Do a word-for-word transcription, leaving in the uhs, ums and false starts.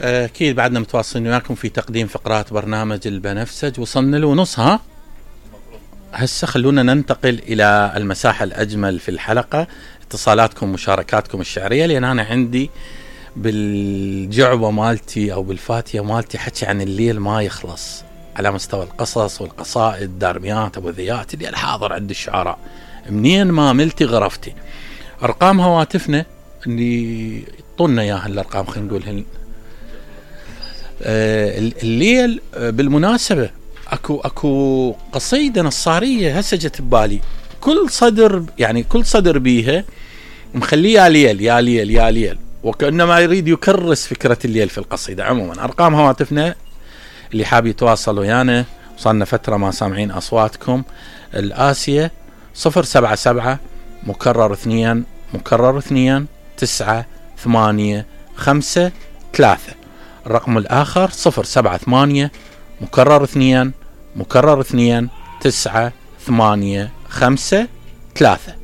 أكيد بعدنا متواصلين وياكم في تقديم فقرات برنامج البنفسج. وصلنا له نصها. هسه خلونا ننتقل إلى المساحة الأجمل في الحلقة، اتصالاتكم ومشاركاتكم الشعرية، لأن أنا عندي بالجعبة مالتي أو بالفاتية مالتي حكي عن الليل ما يخلص على مستوى القصص والقصائد، دارميات أبو ذيات اللي الحاضر عند الشعراء. منين ما ملتي غرفتي. أرقام هواتفنا اللي يطولنا إياها الأرقام، خلينا نقول هن. آه الليل آه بالمناسبة اكو اكو قصيدة نصارية هسه جت ببالي، كل صدر يعني كل صدر بيها مخليه يا ليل يا ليل يا ليل، وكأنما يريد يكرس فكرة الليل في القصيدة. عموما أرقام هواتفنا اللي حاب يتواصل ويانا، وصلنا فترة ما سامعين أصواتكم. الآسية صفر سبعة سبعة مكرر اثنين مكرر اثنين تسعة ثمانية خمسة ثلاثة. الرقم الآخر صفر سبعة ثمانية مكرر اثنين مكرر اثنين تسعة ثمانية خمسة ثلاثة.